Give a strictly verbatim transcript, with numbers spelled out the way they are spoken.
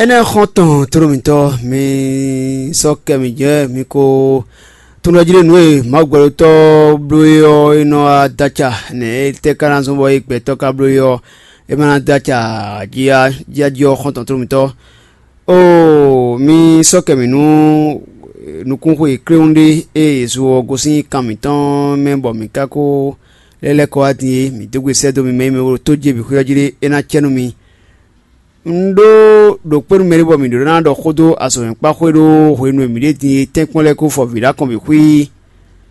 Énɛ́ xɔ́ntɔn tlóló mǐtɔn, mi sɔ́ kɛ mǐ jɛ mi ko tunwunɔjí ɖé nǔ e Mawu gbɛɖotɔ́ bló é ɔ́, é nɔ wá dó acɛ nɛ̌? Étɛ́ ka ná zɔ́n bɔ é gbɛtɔ́ ka bló é ɔ́, é ma ná dó acɛ jí jí ɔ́, xɔ́ntɔn tlóló mǐtɔn? Oo, mi sɔ́ kɛ mǐ nú nukúnxwe kléwún ɖé e Yesu ɔ́ gosín kan mǐtɔn mɛ bɔ mǐ ka ko lɛ́ lɛ́ kɔ wá din é. Mǐ dó gbe sɛ́ dó mi mɛ e mɛ ɖo tó jí e bǐ xwé ɔ́ jí ɖé, é ná cɛ nú mi. Un ɖó ɖo kpé nú mɛɖé bɔ mǐ ɖó ná ɖɔ xó dó azɔ̌mɛkpáxwé ɖó hwenu e mǐ ɖe din e tɛ́nkpɔ́n lɛ́ɛ kó fɔ vǐ ɖó akɔn bǐ xwí.